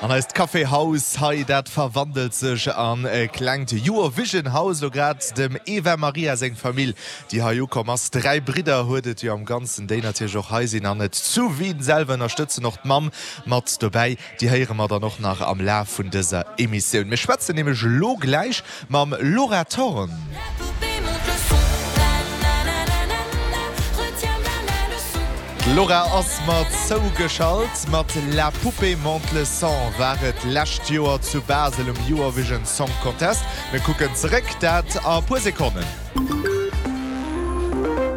An eist Café-Haus hei, dat verwandelt sech an e klengt Eurovision House. Elo grad dem Eva Maria seng Famill, déi hei ukomm ass. 3 Bridder huet et jo am Ganzen, déi natierlech och hei sinn an et zu Wien selwer ënnerstëtzen. Och d'Mamm mat dobäi, déi héiere mer dann och nach am Laf vun dëser Emissioun. Mir schwätzen nämlech elo gläich Mam Laura Thorn. D'Laura ass mer zougeschalt. Mat La poupée monte le son war et d'lescht Joer zu Basel um Eurovision Song Contest. Mir kucken zeréck, dat a puer Sekonnen.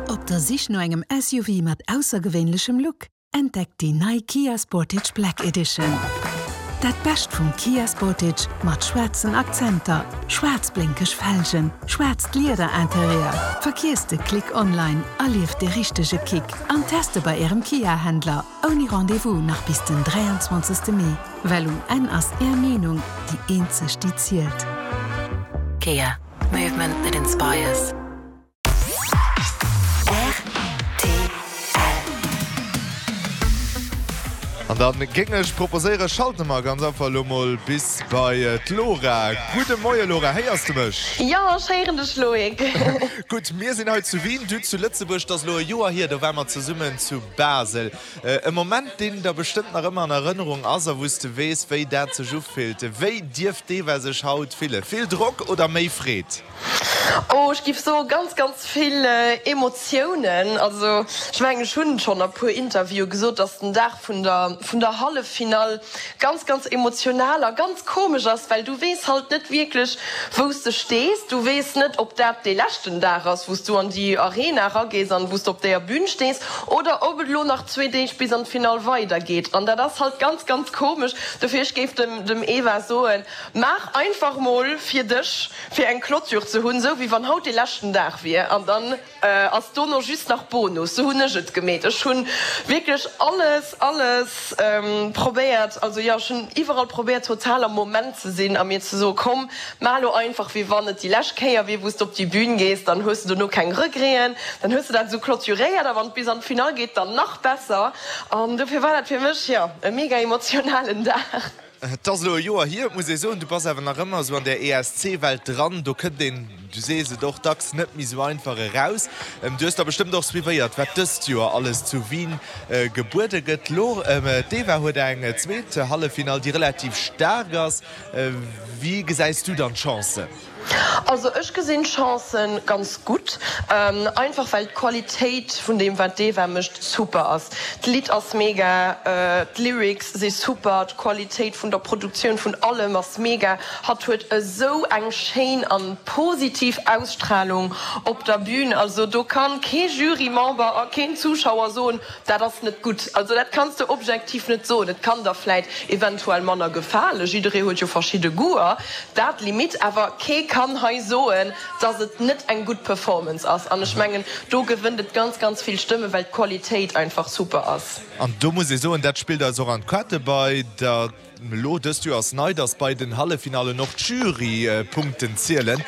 Op der Sich no engem SUV mat aussergewéinlechem Look? Entdeckt déi nei Kia Sportage Black Edition. Dat Bescht vum Kia Sportage mat schwaarzen Akzenter, schwaarz blénkeg Felgen, schwaarzt Lieder-Interieur. Verkierzt de Klick online, erlieft de richtege Kick an teste bei Ärem Kia-Händler ouni Rendez-vous nach bis den 23 Mee, well um Enn ass Är Meenung déi eenzeg déi zielt. Kia, movement that inspires. An da géing ech proposéieren, schalte mer ganz einfach elo mol bis bei d'Laura. Gudde Moie Laura, héiers de mech? Jo, ech héieren dech Loïc. Gutt, mir sinn hei zu Wien, du zu Lëtzebuerg. Et ass elo e Joer hier, do ware mer zesummen zu Basel. E Moment, deen der bestëmmt nach ëmmer an Erënnerung ass a wou s de weess, wéi dat sech ufillt. Wéi dierft d'Eva sech haut fillen? Vill Drock oder méi Freed? Oh, ech giff soe ganz, ganz vill Emotiounen. Also ech mengen, ech hunn schonn a puer Interviewe gesot, dass den Dag vun der, vun der Halleffinall ganz, ganz emotional a ganz komesch ass, well du weess halt net wierklech, wou s de stees. Du weess net, ob dat dee leschten Dag ass, wou s du an déi Arena eragees an wou s de op déier Bün stees, oder ob et elo nach zwee Deeg bis an d'Finall weidergeet. An dat ass halt ganz, ganz komesch. Dofir, ech géif dem, dem Eva soen, Maach einfach mol fir dech, fir eng Clôture ze hunn, sou wéi wann haut dee leschten Dag wier, an dann ass dono just nach Bonus. Sou hunn ech et gemeet. Ech hunn wierklech alles, alles probéiert, also jo, ech hunn iwwerall probéiert total am Moment ze sinn a mir ze soen, komm, maach lo einfach wéi wann et déi lescht Kéier wier wou s de op déi Bühn gees, dann hues de dono keng Regreten, dann hues de dat esou clôturéiert a wann et bis an d'Finall geet, dann nach besser. An dofir war dat fir mech, jo, e mega emotionalen Dag. Et ass elo e Joer hier, et muss ee soen, du bass awer nach ëmmer esou an där ESC-Welt dran. Do kënnt een, du sees et och dacks, net méi esou einfach eraus. Du hues da bestëmmt och suivéiert, wat dëst Joer alles zu Wien gebuede gëtt. Elo, d'Eva huet eng zweet Halleffinall, déi relativ staark ass. Wéi gesäis du dann d'Chancen? Also ech gesinn d'Chancen ganz gutt, einfach well d'Qualitéit vun deem wat d'Eva mécht super ass. D'Lidd ass mega, d'Lyrics si super, d'Qualitéit vun der Produktioun vun allem ass mega. Hatt huet esou eng schéin an positiv Ausstrahlung op der Bühn, also do kann kee Jurymember a keen Zuschauer soen, Dat ass net gutt. Also dat kanns de objektiv net soen. Et kann der vläit eventuell manner gefalen, jidderee huet jo verschidde Goûter, dat limite, awer kee kann hei soen, dass et net eng gutt Performance ass. An ech mengen, do gewënnt et ganz, ganz vill Stëmmen, well d'Qualitéit einfach super ass. An do muss ee soen, dat spillt eis och an d'Kaarte bei der elo dëst Joer ass nei, dass bei den Halleffinallen och d'Jurypunkten zielen.